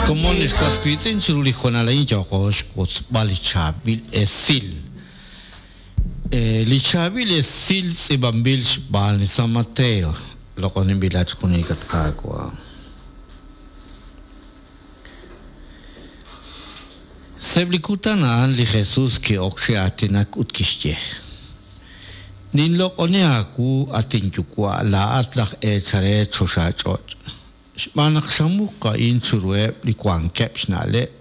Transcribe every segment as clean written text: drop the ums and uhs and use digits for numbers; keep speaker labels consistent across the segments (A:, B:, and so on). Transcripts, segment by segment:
A: xkomon ex was wiitz'in, chiru li hoonal a'in yooqo xwotzb'al li chaab'il esil. Li chaab'il esil tz'iib'anb'il xb'aan li San Mateo, loq'oninb'ilat junelik at Qaawa'. Sa'eb' li kutan a'an li Jesus ki'ok chi aatinak ut kixye, Ninloq'oni aawu, at inYuwa', laa'at laj eechal re choxach'och', xb'aan naq xamuq a'in chiruheb' li wankeb' xna'leb'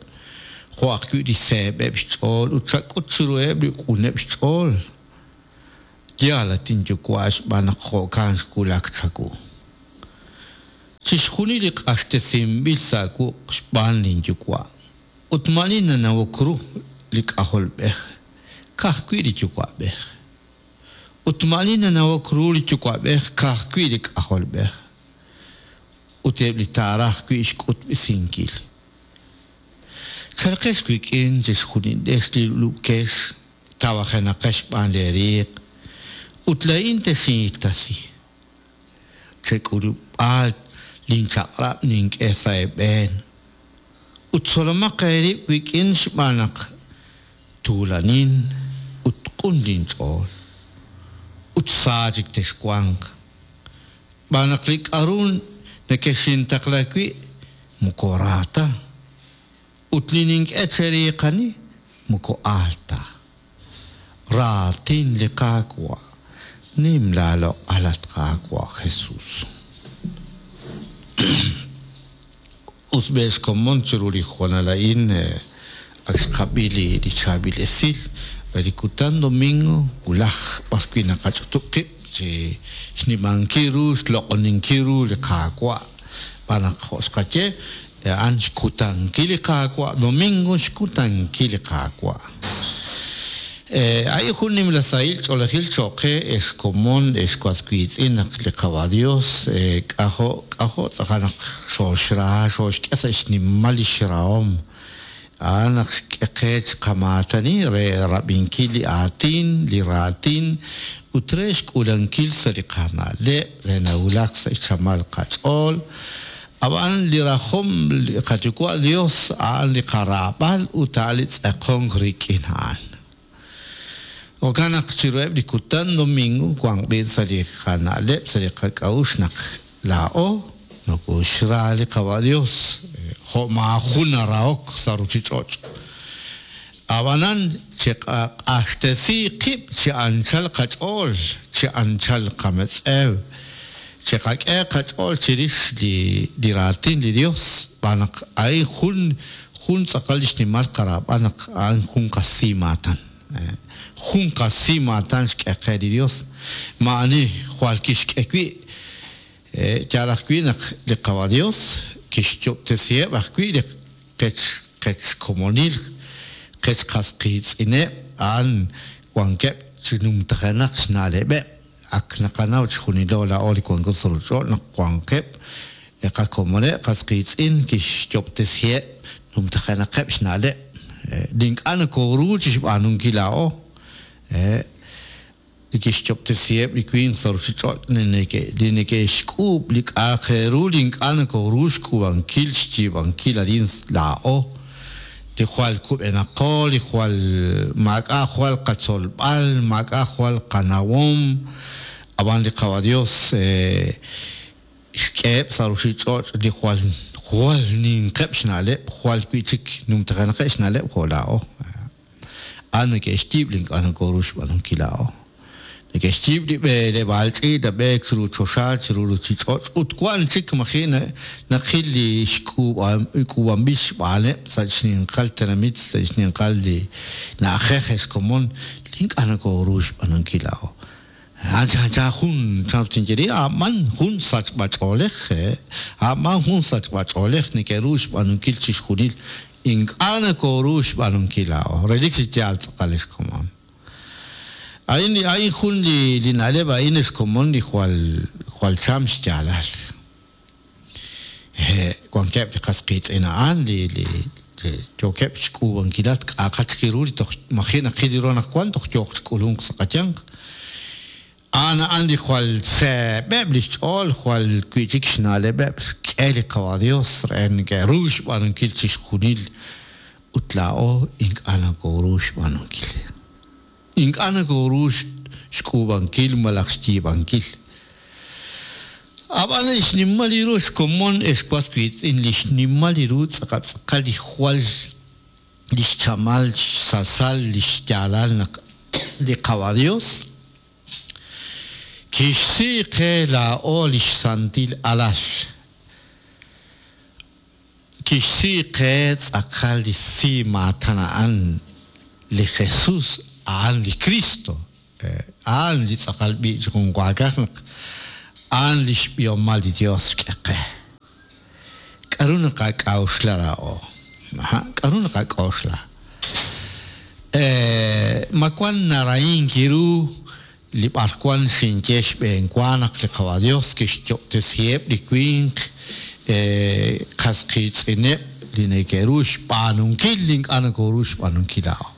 A: jo' ajwi' li seeb'eb' xch'ool ut xak'ut chiruheb' li q'uneb' xch'ool. Yaal, at inYuwa', xb'aan naq jo'kan xwulak chawu. Chixjunil li q'axtesinb'il sa' wuq' xb'aan linYuwa', ut maa'ani nanawok ru li K'ajolb'ej, ka'ajwi' li Yuwa'b'ej. Ut maa'ani nanawok ru li Yuwa'b'ej, ka'ajwi' li K'ajolb'ej, ut eb' li taaraj wi' xk'utb'esinkil. Chalqex wik'in chixjunilex li lub'kex, tawajenaqex xb'aan leeriiq, ut laa'in texinhittasi. Chek'ulub'a linchaq'rab' nink'e sa' eeb'een, ut tzolomaq eerib' wik'in xb'aan naq tuulanin ut q'un linch'ool, ut sa chik texwanq. Xb'aan naq li k'aru nekexintaqla wi' moko ra ta, ut li nink'e cheriiqani moko aal ta. Raatin li Qaawa', Nim laaloq'al, at Qaawa' Jesus. Us b'e xkomon chiru li hoonal a'in ak xqab'i li chaab'il esil re li kutan domingo wulaj b'arwi' naqach'utub' qib' chi xnimankil ru xloq'oninkil ru li Qaawa'. Xb'aan naq jo' xqaye, a'an xkutankil li Qaawa', domingo xkutankil li Qaawa'. A'in jun nimla sahil ch'oolejil cho'q qe, ex komon, ex was wiitz'in, naq li Qawa' Dios k'ajo' k'ajo' tz'aqal naq xooxra, xooxk'e sa' xnimal lix rahom. A'an naq xk'e qe chiqamaatani re rab'inkil li aatin, li raatin, ut re xk'uulankil sa' li qana'leb' re nawulak sa' xchamal qach'ool. Ab'an li rajom li qaYuwa' Dios a'an li qaraab'al ut a'an li tz'aqonk rik'in a'an. Jo'kan naq chiruheb' li kutan domingo wanq b'i' sa' li qana'leb' sa' li qak'a'uxl naq laa'o nokoxra li Qawa' Dios jo' maajun narahok sa' ruchich'och'. Ab'anan chiqaq'axtesi qib' chi anchal qach'ool, chi anchal qametz'ew, chiqak'e qach'ool chirix li raatin li Dios, xb'aan naq a'in jun jun tz'aqal li xnimal qaraab'al naq a'an jun qasimaatan. Jun qasimaatan xk'e qe li Dios. Maa'ani jwal kixk'e wi'. Yaal ajwi' naq li Qawa' Dios kixyob'tesiheb' ajwi' li qech qech komonil, qech qas qiitz'ineb' a'an wankeb' chi numtajenaq xna'leb'eb'. Ak naqanaw chixjunilo laa'o li wanko sa' ruuchich'och' naq wankeb' li qakomoneb' qas qiitz'in kixyob'tesiheb' numtajenaqeb' xna'leb' li ink'a' nokooru chixb'aanunkil laa'o. Li kixyob'tesiheb' li winq sa' ruuchich'och' li neke'xk'uub' li k'a'aq re ru li ink'a' nokooru xk'uub'ankil xyiib'ankil arin laa'o, li jwal kub'enaqo, li jwal maak'a' jwal qatzolb'al, maak'a' jwal qanawom, ab'an li Qawa' Yos xk'eheb' sa' ruuchich'och' li jwal jwal ninqeb' xna'leb', jwal wi' chik numtajenaqeb' xna'leb' jo' laa'o. A'an neke'xyiib' li ink'a' nokooru xb'aanunkil laa'o. Neke'xyiib' li b'eleb'aal ch'iich' nab'eek chiru choxa, chiru ruuchich'och' ut wank chik maji' naqil li k'uub'anb'il xb'aaneb' sa' xninqal tenamit, sa' xninqal li na'ajej ex komon li ink'a' nokooru xb'aanunkil laa'o. A'an chanchan jun, chanru tinye ri, a'b'an jun sachb'a-ch'oolej, a'b'an jun sachb'a-ch'oolej neke'ru xb'aanunkil chixjunil ink'a' nokooru xb'aanunkil laa'o. Relik chi yaal tz'aqal ex komon. A'in li a'in jun li li na'leb' a'in ex komon li jwal jwal cham xyaalal. Hehe' wankeb' li qas qiitz'in a'an li li yookeb' xk'uub'ankilat k'a'aqat chik ru li toj maji' naqil ru anaqwan toj yooq chi k'ulunk sa' qayanq. A'an a'an li jwal seeb'eb' li xch'ool, jwal wi'chik xna'leb'eb' xk'e li Qawa' Dios re neke'ru xb'aanunkil chixjunil ut laa'o ink'a' nokoru xb'aanunkil. Ink'a' nokoru xk'uub'ankil malaj xyiib'ankil. Ab'an li xnimal li ru xkomon ex was wiitz'in, li xnimal li ru tz'aqal tz'aqal li jwal li xchamal xsasal li xyaalal naq li Qawa' Dios kixsi qe laa'o li xsantil alal. Kixsi qe tz'aqal li si maatan a'an li Jesús, a'an li Cristo, a'an li tz'aqal b'i' chi junwaakaj naq a'an li xb'ihomal li Dios xk'e qe. K'aru naqak'a'uxla laa'o? K'aru naqak'oxla? Ma wan narahink ru li b'arwan xinye xb'eenwa naq li Qawa' Dios kixyob'tesiheb' li winq qas qiitz'ineb' li neke'ru xb'aanunkil li ink'a' nokoru xb'aanunkil laa'o?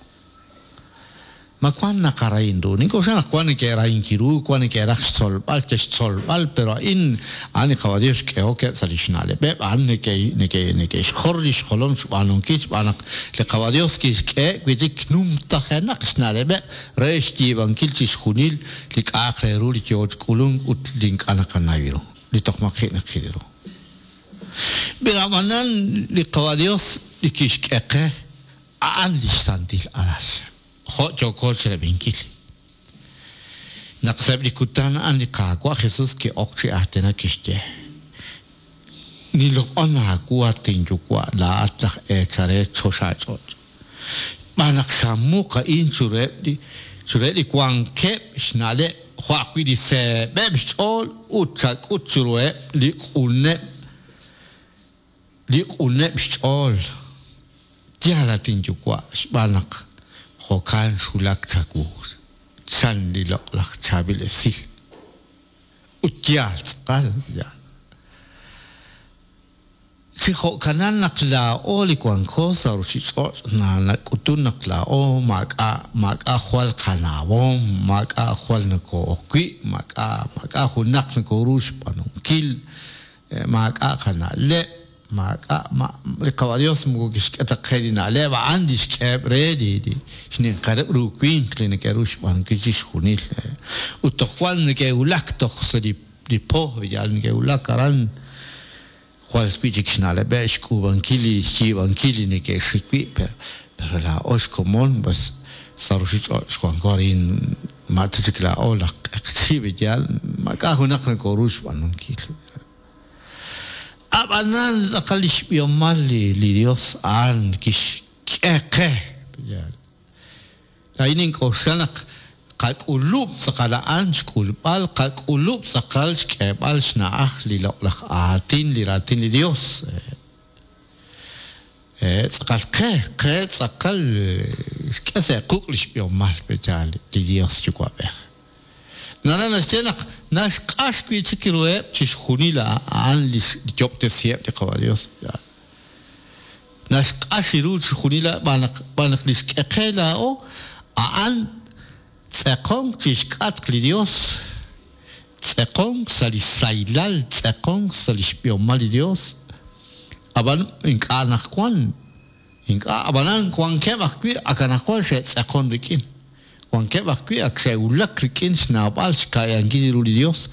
A: Ma wank naqarahin ru? Nink'oxla naq wank neke'rahink ru, wank neke'raj xtzolb'al, che'xtzolb'al, pero a'in, a'an li Qawa' Dios xk'ehok eb' sa' li xna'leb'eb', a'an neke'xjor li xjolom xb'aanunkil xb'aan naq li Qawa' Dios kixk'eheb' wi' chik numtajenaq xna'leb'eb' re xyiib'ankil chixjunil li k'a'aq re ru li yoo chi k'ulunk ut li ink'a' naqanaw ru, li toj maji' naqil ru. Pero ab'anan li Qawa' Dios li kixk'e qe, a'an li xsantil alal, jo' yooko chirab'inkil. Naq sa'eb' li kutan a'an li Qaawa' Jesus ki'ok chi aatinak kixye, Ninloq'on aawu, at inYuwa', laa'at laj eechal re choxach'och', xb'aan naq xamuq a'in chiruheb' li chiruheb' li wankeb' xna'leb' jo' ajwi' li seeb'eb' xch'ool ut xak'ut chiruheb' li q'uneb' li q'uneb' xch'ool. Yaal, at inyuwa', xb'aan naq jo'kan xwulak chawu, chan li loq'laj chaab'il esil. Ut yaal tz'aqal, yaal. Chi jo'kanan naq laa'o li wanko sa' ruchich'och' nak'utun naq laa'o maak'a' maak'a' jwal qanawom, maak'a' jwal nokoo'ok wi', maak'a' maak'a' junaq nokoru xb'aanunkil, maak'a' qana'leb', maak'a' li Qawa' Dios moko kixk'e ta qe li na'leb' a'an li xk'eheb' re li xninqaleb' ru winq li neke'ru xb'aanunkil chixjunil. Ut toj wan neke'wulak toj sa' li po, yal neke'wulak aran jwal wi'chik xna'leb'eb' xk'uub'ankil li xyiib'ankil li neke'xik wi', pero laa'o xkomon pues sa' ruchich'och' xwanko arin ma ta chik laa'o laj q'eqchi' yaal maak'a' junaq nokoru xb'aanunkil. Ab'anan tz'aqal li xb'ihomal li Dios a'an kixk'e qe. Laa'in nink'oxla naq qak'ulub' tz'aqal a'an xk'ulb'al, qak'ulub' tz'aqal xk'eeb'al xna'aj li loq'laj aatin, li raatin li Dios. Tz'aqal qe, qe tz'aqal xk'e sa' quq' li xb'ihomal yaal li Dios Yuwa'b'ej. Naraj naxye naq naxq'ax wi'chik ruheb' chixjunil a'an li xyob'tesiheb' li Qawa' Dios. Naxq'ax ru chixjunil xb'aan naq xb'aan naq li xk'e qe laa'o a'an tz'eqonk chixk'atq li Dios, tz'eqonk sa' li sahilal, tz'eqonk sa' li xb'ihomal li Dios. Ab'an ink'a' anaqwan, ink'a' ab'anan wankeb' ajwi' ak anaqwan xe'tz'eqon rik'in. Wankeb' ajwi' ak xe'wulak rik'in xnawb'al xka'yankil ru li Dios,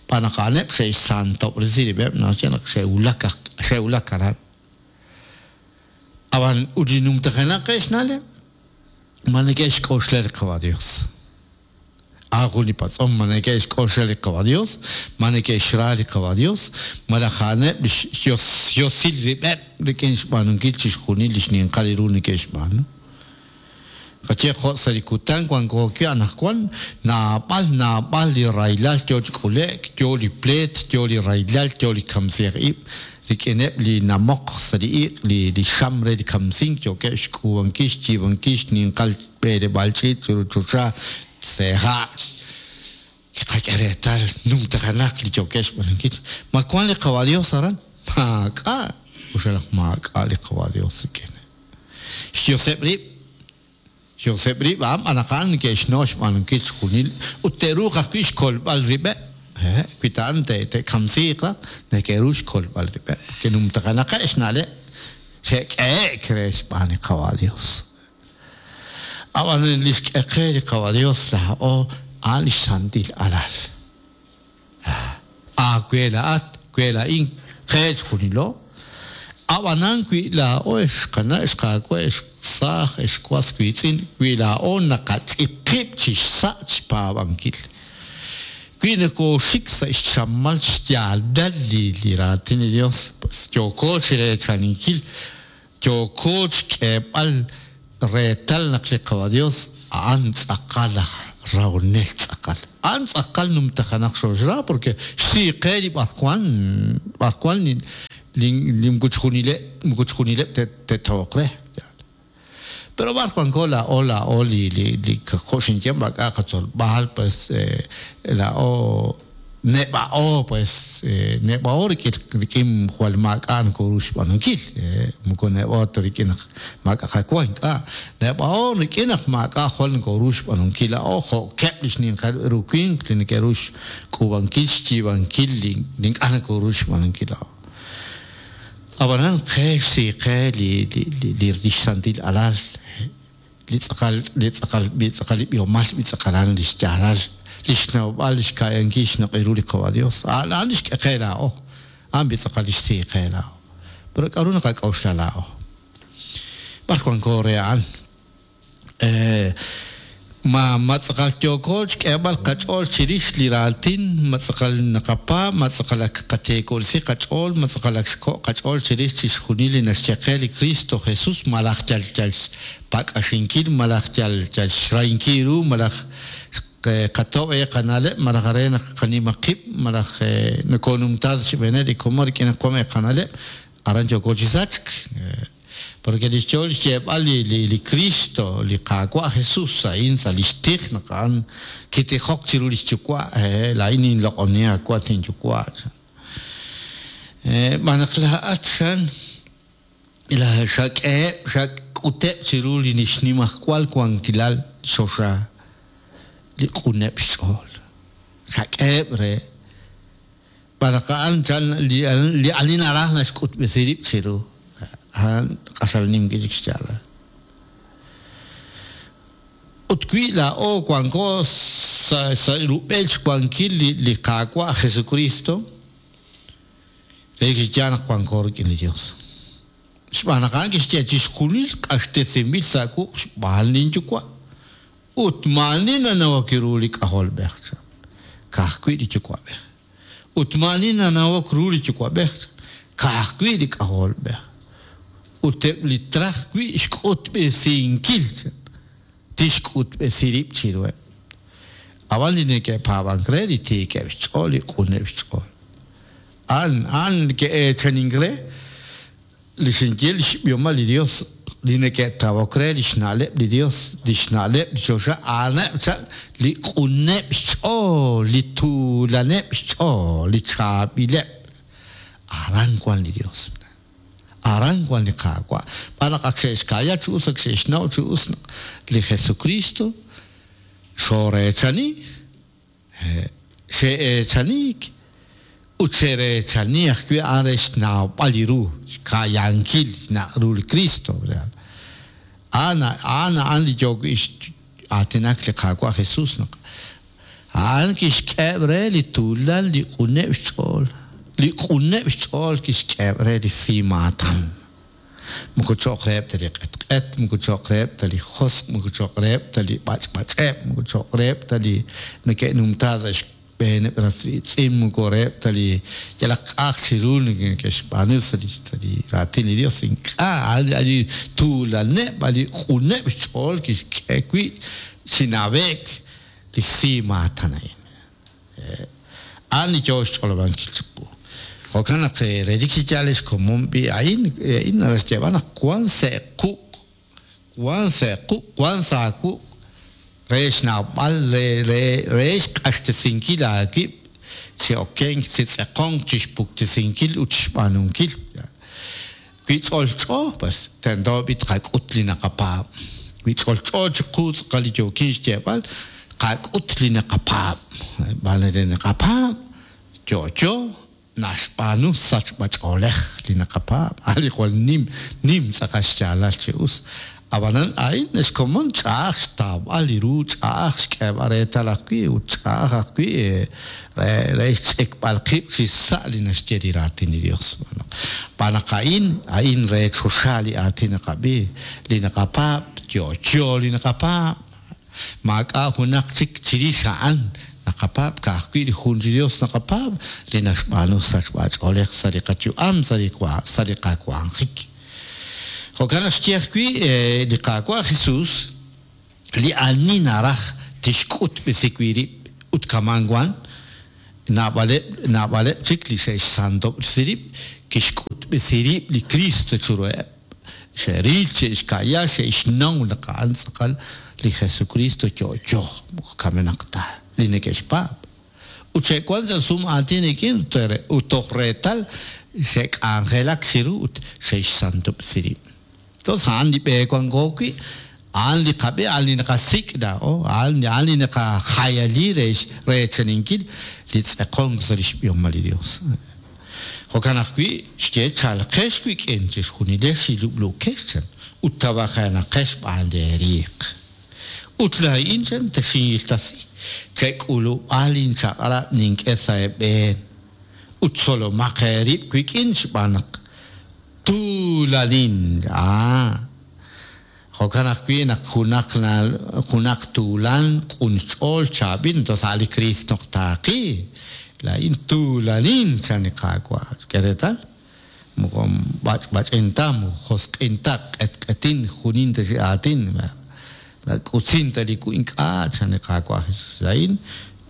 A: xb'aan naq a'aneb' xe'xsantob'resi rib'eb', naxye naq xe'wulak xe'wulak aran. Ab'an ut li numtajenaq qe xna'leb', ma neke'xk'oxla li Qawa' Dios? A'an jun li patz'om, ma neke'xk'oxla li Qawa' Dios? Ma neke'xra li Qawa' Dios? Malaj a'aneb' li xyosil rib'eb' rik'in xb'aanunkil chixjunil li xninqal ru neke'xb'aanu? Qaye jo' sa' li kutan wanko wi' anaqwan, naab'al naab'al li rahilal yo chi k'ule'k, yo li pleet, yo li rahilal, yo li kamsij ib' rik'ineb' li namoq sa' li iq', li xam re li kamsink yookeb' xk'uub'ankil xyiib'ankil xninqal b'eleb'aal ch'iich' chiru choxa sa' ha'. Kiqak'e reetal numtajenaq li yookeb' xb'aanunkil. Ma wank li Qawa' Yos aran? Maak'a'! Uxalaj maak'a' li Qawa' Yos rik'in. Xyoseb' rib', Xyoseb' rib' a'an b'an naq a'an neke'xnaw xb'aanunkil chixjunil ut te'ruuq ajwi' xkolb'al rib'eb'. Wi ta a'an te'kamsiiq raj, neke'ru xkolb'al rib'eb'. Ke'numtajenaqeb' xna'leb' xe'k'ehe'k re xb'aan li Qawa' Dios. Ab'an li xk'e qe li Qawa' Dios laa'o a'an li xsantil alal. Aawe laa'at, we laa'in, qe chixjunilo. Ab'anan wi laa'o ex qana', ex qaawa', ex saaj, ex was wiitz'in, wi laa'o naqach'ik qib' chi xsa' xpaab'ankil, wi nokooxik sa' xchamal xyaalal li raatin li Yos, yooko chi reechaninkil, yooko xk'eeb'al reetal naq li Qawa' Yos a'an tz'aqal aj rahonel tz'aqal. A'an tz'aqal numtajenaq xooxra porque xsi qe li b'arwan b'arwan li moko chixjunileb' moko chixjunileb' te'tawoq re. Pero b'ar wanko laa'o laa'o li li li jo' xinye maak'a' qatzolb'al pues laa'o neb'a'o pues neb'a'o rik'in rik'in jwal maak'a' nokoru xb'aanunkil moko neb'a'o ta rik'in naq maak'a' qawa ink'a' neb'a'o rik'in naq maak'a' jwal nokoru xb'aanunkil laa'o jo'keb' li xninqal ru winq li neke'ru xk'uub'ankil xyiib'ankil li ink'a' nokoru xb'aanunkil laa'o. Ab'anan qe xsi qe li li li xsantil alal li tz'aqal li tz'aqal li tz'aqal li b'ihomal li tz'aqalan li xyaalal li xnawb'al li xka'yankil xnaq'il ru li Qawa' Dios a'an a'an li xk'e qe laa'o a'an bi tz'aqal li xsi qe laa'o pero k'a'ru naqak'oxla laa'o b'ar wanko re a'an Ma ma tz'aqal yooko xk'eeb'al qach'ool chirix li raatin, ma tz'aqal naqapaab', ma tz'aqal ak qateekolsi qach'ool, ma tz'aqal ak xko' qach'ool chirix chixjunil li naxye qe li Kristo Jesus, malaj yal yal xpak'axinkil, malaj yal yal xrahinkil ru, malaj qatob' e qana'leb', malaj re naq qanima qib', malaj nokoonumtaak sa' xb'eeneb' li komon rik'in naq wank e qana'leb', aran yooko chi sachk. Porque li xyool xyeeb'al li, li, li Cristo, li Qaawa' Jesus, a'in sa' lix tij naq a'an kitijok chiru lix Yuwa', laa'in ninloq'oni aawa' tinYuwa', chan. Xb'aan naq laa'at, chan, la xak'eheb', xak'uteb' chiru li xnimajwal wankilal choxa li q'uneb' xch'ool. Xak'eheb' re. Xb'aan naq a'an chan li ani naraj naxk'utb'esi rib' chiru, a'an q'axal nim wi'chik xyaalal. Ut wi laa'o wanko sa' sa' rub'el xwankil li li Qaawa' Jesukristo, relik chi yaal naq wanko rik'in li Dios. Xb'aan naq a'an kixye, Chixjunil q'axtesinb'il sa' wuq' xb'aan lin Yuwa'. Ut maa'ani nanawok ru li K'ajolb'ej, chan, ka'ajwi' li Yuwa'b'ej. Ut maa'ani nanawok ru li Yuwa'b'ej, chan, ka'ajwi' li K'ajolb'ej. Ut eb' li traj wi' xk'utb'esinkil, chan, tixk'utb'esi rib' chiruheb'. Ab'an li neke'paab'ank re, li tiikeb' xch'ool, li q'uneb' xch'ool, a'an, a'an neke'eechanink re, Li xinye li xb'ihomal li Yos, li neke'tawok re li xna'leb' li Yos, li xna'leb' li choxa, a'aneb' chaq li q'uneb' xch'ool, li tuulaneb' xch'ool, li chaab'ileb'. Aran wank li Yos. Aran wank li Qaawa'. Xb'aan naq ak xe'xka'ya chi us, ak xe'xnaw chi us naq li Jesukriist xooreechani. Xe'eechaniik ut xe'reechani ajwi' a'an re xnawb'al li ru, xka'yankil xnaq' ru li Kristo. A'an a'an a'an li yoo wi' aatinak li Qaawa' Jesus naq a'an kixk'eheb' re li tuulan li q'uneb' xch'ool, li q'uneb' xch'ool kixk'eheb' re li simaatan. Moko cho'q reheb' ta li q'etq'et, moko cho'q reheb' ta li josq', moko cho'q reheb' ta li b'ach'b'ach'eb', moko cho'q reheb' ta li neke'numtaak sa' xb'eeneb' ras riitz'in, moko reheb' ta li yalaq k'a'aq chi ru neke'xb'aanu sa' li Raatin li Yos. Ink'a', a' li tuulaneb', a' li q'uneb' xch'ool kixk'e wi' chi nawe'k li simaatan a'in. A'an li yoo xch'olob'ankil chiqu. Jo'kan naq relik chi yaal ex komon b'i a'in, a'in naraj xyeeb'al naq wan sa' quq', wan sa' quq', wan sa' aawuq' re xnawb'al, re, re, re xq'axtesinkil aawib' chi okenk, chi tz'eqonk, chixpuktesinkil ut chixb'aanunkil. Wi ch'olch'o, pues tento b'i tqak'ut li naqapaab'. Wi ch'olch'o chiqu tz'aqal li yookin xyeeb'al, tqak'ut li naqapaab'. Xb'aan naq li naqapaab' yo'yo naxb'aanu sachb'ach'oolej li naqapaab', a' li jwal nim, nim tz'aqal xyaalal chi us. Ab'anan a'in xkomon ch'a'aj xtawb'al li ru, ch'a'aj xk'eeb'al reetal ajwi' ut ch'a'aj ajwi' re re xch'ikb'al qib' chi sa' li naxye li Raatin li Yos. Xb'aan naq a'in, a'in re choxa li aatin naqab'i, li naqapaab', yo'yo li naqapaab'. Maak'a' junaq chik chirix a'an naqapaab', ka'ajwi' li jun chi Yos naqapaab' li naxb'aanu sachb'a-ch'oolej sa' li qayu'am, sa' li sa' li qawanjik. Jo'kan naq xye ajwi' li Qaawa' Jesus, Li ani naraj tixk'utb'esi wi' rib' ut kaman wan, naab'aleb' naab'aleb' chik li xe'xsantob'resi rib', kixk'utb'esi rib' li Kristo chiruheb'. Xe'ril, xe'xka'ya, xe'xnaw naq a'an tz'aqal li Jesukristo yo'yo, moko kamenaq ta, li neke'xpaab'. Ut xe'wan sa' sum aatin rik'in ut toj reetal xe'k'anjelak chiru ut xe'xsantob'resi rib'. Entonces a'an li b'e wanko wi', a'an li qab'e, a'an li naqasik' laa'o, a'an a'an li naqajayali re reechaninkil li tz'eqonk sa' lix b'ihomal li Dios. Jo'kan ajwi' xye, Chalqex wik'in chixjunilex li lub'luukex, chan, ut tawajenaqex xb'aan leeriiq. Ut laa'in, chan, texinhiltasi, chek'ulub'a linchaq'rab' nink'e sa' eeb'een, ut tzolomaq eerib' wik'in xb'aan naq tuulanin. Aa, jo'kan ajwi' naq junaq junaq tuulan, q'un xch'ool, chaab'il, entonces a' li Kriist naq taaqi. Laa'in tuulanin, chan li Qaawa'. K'e reetal, moko b'ach'b'ach'in ta, moko josq'in ta, q'etq'etin, junin ta chi aatin, nak'utzin ta li wu, ink'a', chan li Qaawa' Jesus. Laa'in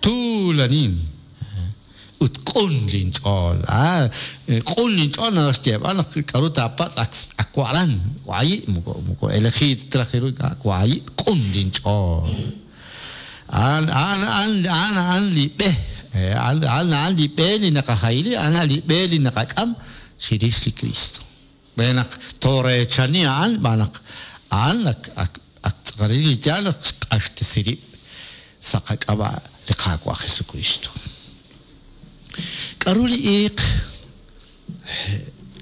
A: tuulanin. Ut q'un linch'ool. A, q'un linch'ool naraj xyeeb'al naq k'aru taapatz' ak ak wa'ran, waayi', moko moko elegido ta raj ru, ink'a' waayi', q'un linch'ool. A'an a'an a'an a'an a'an li b'e, a'an a'an a'an li b'e li naqajayli, a'an li b'e li naqak'am chirix li Kristo. Re naq tooreechani a'an xb'aan naq a'an ak ak ak tz'aqal li yaal naq xq'axtesi rib' sa' qak'ab'a' li Qaawa' Jesukristo. K'aru li iiq?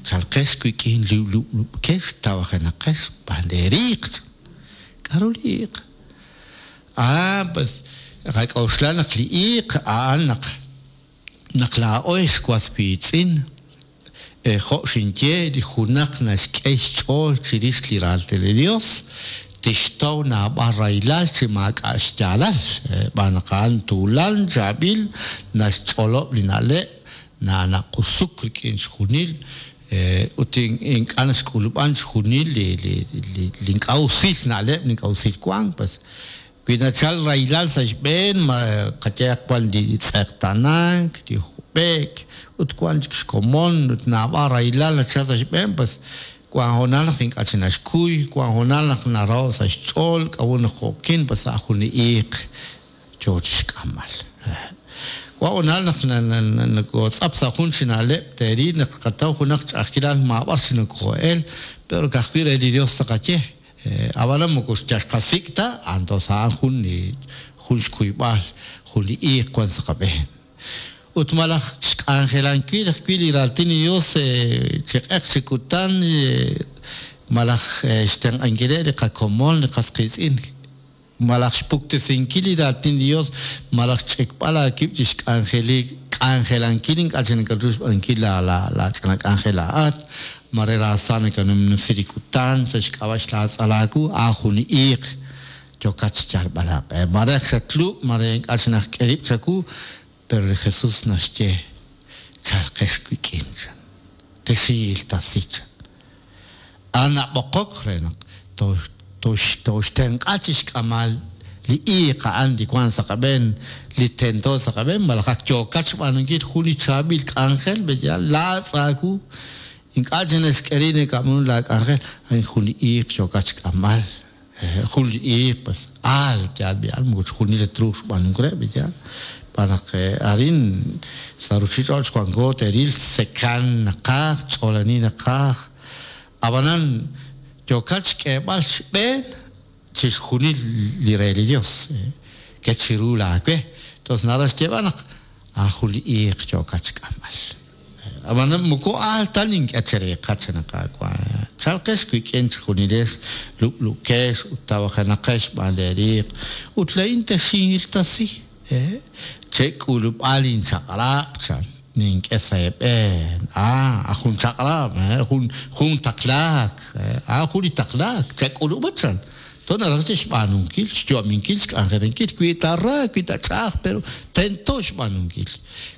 A: Chalqex wik'in lub'lub'kex tawajenaqex xb'aan leeriiq. K'aru li iiq? Ah, pues, qak'oxla naq li iiq a'an naq naq laa'o ex was wiitz'in Jo' xinye, li junaq naxk'e xch'ool chirix li Raatin li Yos, tixtaw naab'al rahilal chi maak'a' xyaalal, xb'aan naq a'an tuulan, chaab'il, naxch'olob' li na'leb', naq'usuk rik'in chixjunil, ut ink'a' naxk'ulub'an chixjunil li ink'a' usil na'leb', li ink'a' usil wank. Pues Wi nachalk rahilal sa' xb'een, ma qayehaq wan li tz'eqtaanank, li jub'e'k, ut wan chik xkomon ut naab'al rahilal nachalk sa' xb'een, pues wan hoonal naq ink'a' chik naxkuy, wan hoonal naq naraho' sa' xch'ool, k'a'ut naq jo'kin, pues sa' jun li iiq yoo chixk'amb'al. Wan hoonal naq nokootz'ap sa' jun chi na'leb', teeril naq tqataw junaq ch'a'ajkilal maab'ar chi nokoo'el, pero ka'ajwi' re li Dios taqaye. Ab'anan moko yal xqasik' ta, antos a'an jun li jun xkuyb'al jun li iiq wan sa' qab'een. Ut malaj xk'anjelankil ajwi' li raatin li Dios chi q'eq chi kutan malaj xtenq'ankileb' li qakomon li qas qiitz'in. Malaj xpuktesinkil li raatin li Yos, malaj xch'ikb'al aawib' chi xk'anjelankil ink'a' chik nakatru xb'aanunkil laach'ina k'anjel laa'at, mare raasa nakanumnumsi li kutan sa' xk'ab'a' xlaatz'al aawu, a'an jun li iiq yookat xyalb'al aaq'e. Mare ak xatlub', mare ink'a' chik najk'e rib' chawu, pero li Jesus naxye, Chalqex wik'in, chan. Texinhiltasi, chan. A'an nab'oqok re naq tooxtenq'a chi xk'amal li iiq a'an li wank sa' qab'een, li tento sa' qab'een, malaj ak yookat xb'aanunkil jun li chaab'il k'anjel, b'eyaal, laatz' aawu, ink'a' chik naxk'e rib' nakab'aanu laak'anjel, a'in jun li iiq yookat xk'amb'al. Jun li iiq, pues, aal yaal b'i'al, moko chixjunil ta truuq xb'aanunkil re, b'i'yaal. Xb'aan naq arin sa' ruuchich'och' wanko teeril sekan naqaj, ch'oolani naqaj. Ab'anan yookat xk'eeb'al xb'een. chixjunil li re li Dios. Ket chiru laawe. Tos naraj xyeeb'al naq jun li iiq yookat xk'amb'al. Ab'an moko aal ta nink'e chereeqaj chan li Qaawa'. Chalqex wik'in chejunilex lub'lukex ut tawajenaqex xb'aan leeriiq, ut laa'in texinhiltasi. Chek'ulub'a linchaq'rab' chan, nink'e sa' eeb'een. A jun chaq'rab', jun jun taqlaak, a'an jun li taqlaak, chak'ulub'a chan. To naraj che xb'aanunkil, xyu'aminkil, xk'anjelankil, wi ta ra, wi ta ch'a'aj, pero tento xb'aanunkil.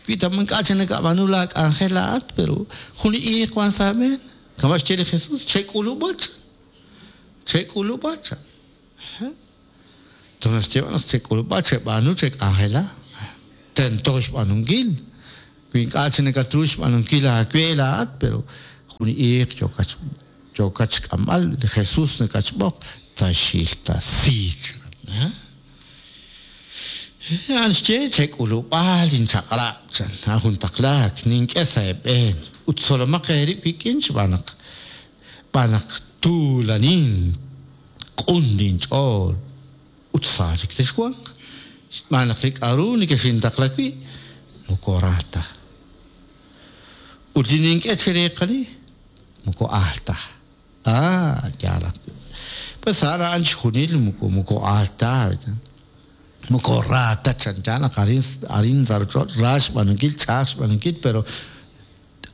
A: Wi ta ink'a' chik nakab'aanu laak'anjel laa'at, pero jun li iiq wan sa' aab'een. Kama' xye li Jesús, chek'ulub'a chan. Chek'ulub'a chan. To naxye naq chek'ulub'a, cheb'aanu, chek'anjela. Tento xb'aanunkil. Wi ink'a' chik nakatru xb'aanunkil aawe laa'at, pero jun li iiq yookat yookat xk'amb'al, li Jesús nakatxb'oq, taxiltasi chan. A'an xye, chek'ulub'a linchaq'rab' chan, a'an jun taqlaak, nink'e sa' eeb'een, ut tzolomaq eerib' wik'in xb'aan naq xb'aan naq tuulanin, q'un linch'ool ut sa chik texwanq, xb'aan naq li k'aru nekexintaqla wi' moko ra ta. Ut li nink'e chereeqani moko aal ta. Ah, yaal ajwi'. Pues a'an a'an chixjunil moko moko aal ta. Moko ra ta chanchan naq arin arin sa' ruuchich'och' ra xb'aanunkil, ch'a'aj xb'aanunkil, pero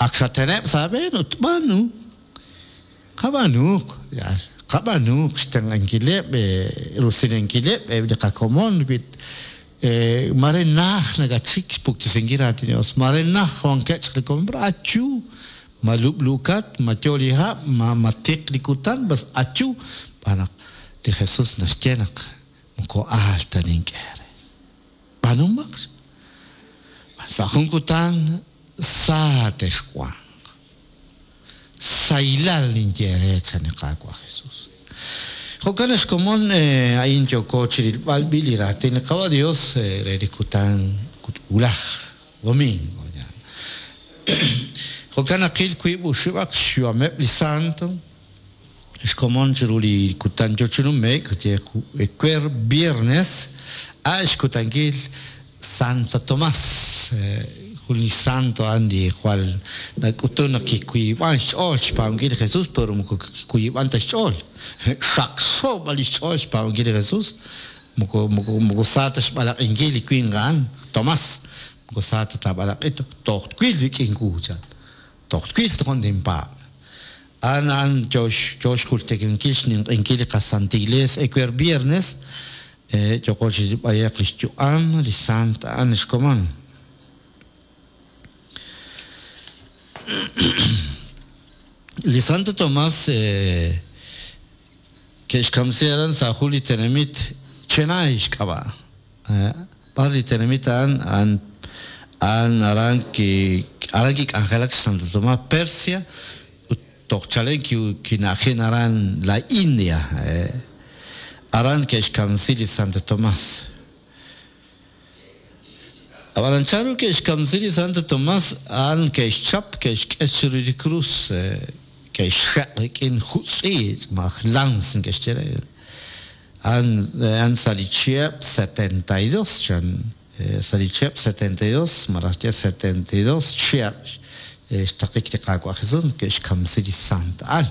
A: ak xateneb' sa' aab'een ut b'aanu. Qab'aanuuq, yaal, qab'aanuuq xtenq'ankileb', rusilankileb' eb' li qakomon wi mare najt nakatxik xpuktesinkil raatin li Dios, mare najt wankeb' chaq li komon, pero ayu Ma lub'luukat, ma yo li hab', ma ma tiq li kutan, bas ayu, xb'aan naq li Jesús naxye naq moko aal ta nink'e eere. B'aanumaq sa' jun kutan sa texwanq. Sahilal ninye eere, chan li Qaawa' Jesús. Jo'kan ex komon, a'in yooko chirilb'al b'i' li raatin li Qaawa' Dios re li kutan wulaj, domingo. Jo'kan naqil wiib' oxib'aq xyu'ameb' li santo, xkomon chiru li kutan yo chi nume'k, ye ewer viernes, a' xkutankil Santo Tomás, jun li santo a'an li jwal nak'utun naq kiwiib'an xch'ool xpaab'ankil li Jesús, pero moko kiwiib'an ta xch'ool, xaqxo b'an li xch'ool xpaab'ankil li Jesús, moko moko moko sa ta xb'alaq'inkil li winq a'an, Tomás. Moko sa ta taab'alaq'i, toj twil rik'in wu, chan. Toj twil tojon tinpaab'. A'an a'an yo yo xjultikankil xninq'ehinkil li qaSanta Iglees ewer viernes, yooqo chi b'ayaq li xyu'am li sant a'an xkomon. Li Santo Tomás ke'xkamsi aran sa' jun li tenamit Chenay xk'ab'a'. B'ar li tenamit a'an, a'an a'an aran ki aran kik'anjelak Santo Tomás, Persia, ut toj chalen ki kina'ajin aran la India. Aran ke'xkamsi li Santo Tomás. Ab'anan chanru ke'xkamsi li Santo Tomás, a'an ke'xchap, ke'xk'e chiru li krus, ke'xxeq' rik'in jutz'iich' malaj lans neke'xye re. A'an sa' li chihab' 72, chan, sa' li chihab' 72, malaj ye 72 chihab' xtaqik li Qaawa' Jesus naq ke'xkamsi li sant a'an.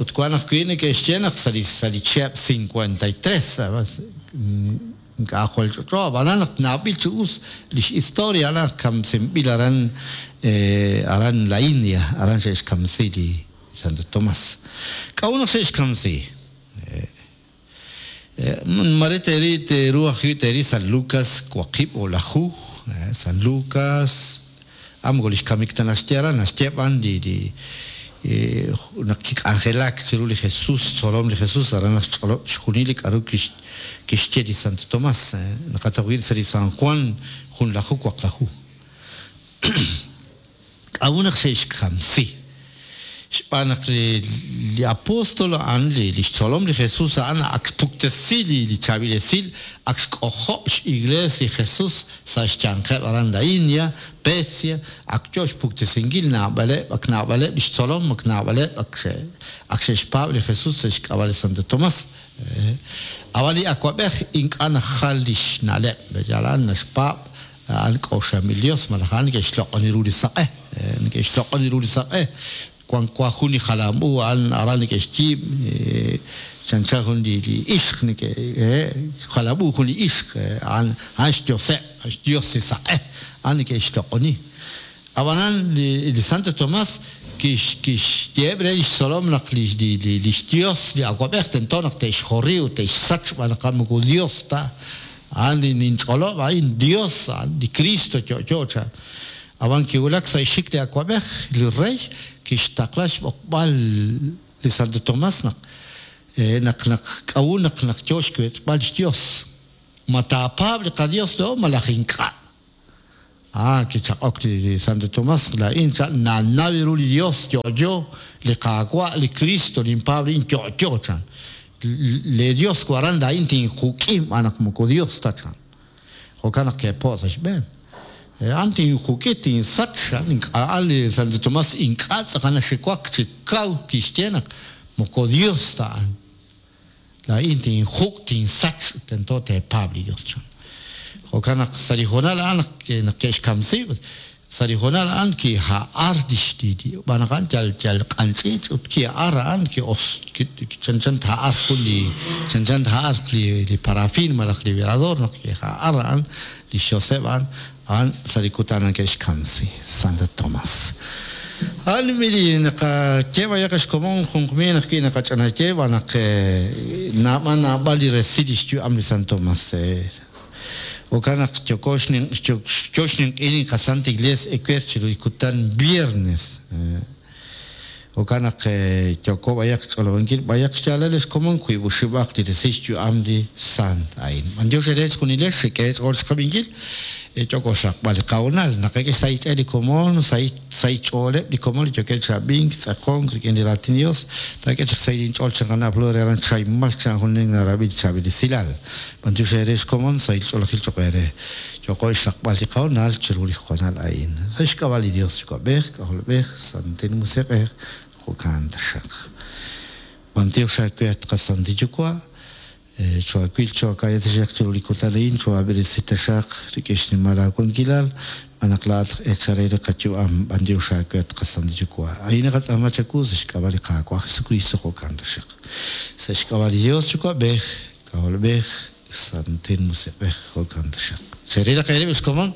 A: Ut wan ajwi' neke'xye naq sa' li sa' li chihab' 53, ink'a' jwal ch'olch'o, ab'anan naq nawb'il chi us lix historia a'an naq kamsinb'il aran aran la India, aran xe'xkamsi li Santo Tomás. K'a'ut naq xe'xkamsi? Mare teeri teeru ajwi' teeri San Lucas waqib' o'laju, San Lucas, a moko li xkamik ta naxye aran, naxye b'an li li naq kik'anjelak chiru li Jesús, xtzolom li Jesús, aran naxch'olob' chixjunil li k'a'ru kixye li Santo Tomás. Naqataw wi' sa' li San Juan junlaju waqlaju. K'a'ut naq xe'xkamsi? Xb'aan naq li apóstol a'an, li xtzolom li Jesus a'an ak xpuktesi li chaab'il esil, ak xk'ojob' x'Iglees li Jesus sa' xyanqeb' aran la India, Persia, ak yo xpuktesinkil naab'aleb', ak naab'aleb' li xtzolom, ak naab'aleb' ak xe'xpaab' li Jesus sa' xk'ab'a' li Santo Tomás. Ab'an li awab'ej ink'a' najal li xna'leb', yal a'an naxpaab' a'an k'oxlanb'il Dios malaj a'an neke'xloq'oni ru li saq'e, neke'xloq'oni ru li saq'e. Wank wa jun li jalam u a'an aran neke'xyiib' chanchan jun li ixq neke' jalam u jun li ixq a'an a'an xyoseb', xyos li saq'e, a'an neke'xloq'oni. Ab'anan li Santo Tomás kixyeheb' re li xtzolom naq li xyos li awab'ej tento naq te'xjori ut te'xsach xb'aan naq a'an moko Dios ta. A'an li ninch'olob' a'in Dios, a'an li Cristo yo'yo, chan. Ab'an kiwulak sa' xxik li awab'ej, li rey, kixtaqla xb'oqb'al li Santo Tomás naq naq naq k'a'ut naq naq yo xwech'b'al xyos. Ma taapaab' li qaYos laa'o malaj ink'a'? Ah, kichaq'ok li Santo Tomás, laa'in chan, nannaw ru li Yos yo'yo, li Qaawa', li Kristo, ninpaab' a'in yo'yo, chan. Leeyos waran laa'in tinjuk'i xb'aan naq moko Yos ta, chan. Jo'kan naq ke'po' sa' xb'een. A'an tinjuk'i, tinsach, chan. Ink'a' li Santo Tomás ink'a' tz'aqal naxiwak chi kaw kixye naq moko Yos ta a'an. Laa'in tinjuk', tinsach, tento teepaab' li Yos, chan. Jo'kan naq sa' li hoonal a'an naq ke'xkamsi, sa' li hoonal a'an kiha'ar lix xb'aan naq a'an yal yal q'anch'iich' ut kiha'ar a'an ki'os chanchan tha'ar jun li chanchan tha'ar li li parafin malaj li velador naq kiha'ar a'an li xyoseb' a'an A'an sa' li kutan a'an ke'xkamsi. Santo Tomás. A'an b'i li naqaye b'ayaq xkomon junqmil ajwi' naqach'anaye xb'aan naq naab'al naab'al li resil lix yu'am li San Tomás. Jo'kan naq yooko yo xninq'ehinkil li qaSanta Iglesia ewer chiru li kutan viernes. Jo'kan naq yooko b'ayaq xch'olob'ankil b'ayaq xyaalal ex komon wiib'oxib'aq li resil xyu'am li sant a'in. B'antiox eere chejunilex xek'e eech'ool xqab'inkil, yooko xraqb'al li qahoonal. Naqak'e xsahil xch'e li komon, sahil xch'ooleb' li komon li yookeb' chi ab'ink, tz'aqonk rik'in li raatin li Dios. Taak'e chaq xsahil inch'ool chan Flor re aran Chaimmal chan jun nin narab'i li chaab'il esilal. B'antiox eere ex komon, sahil ch'oolejil cho'q eere. Yooko xraqb'al li qahoonal chiru li hoonal a'in. Sa' xk'ab'a' li Dios Yuwa'b'ej, K'ajolb'ej, Santil Musiq'ej, jo'kan taxaq. B'antiox aawe at qaSantil Yuwa', choohaawil choohaaka'ya taxaq chiru li kutan a'in, choohaab'eresi taxaq rik'in xnimal aawankilal, xb'aan naq laa'at aj eechal re li qayu'am. B'antiox aawe at qaSantil Yuwa'. A'in naqatz'aama chawu sa' xk'ab'a' li Qaawa' Jesukristo, jo'kan taxaq. Sa' xk'ab'a' li Dios Yuwa'b'ej, K'ajolb'ej, Santil Musiq'ej, jo'kan taxaq. Cherilaq eerib' ex komon,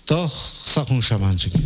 A: toj sa' jun xamaan chik.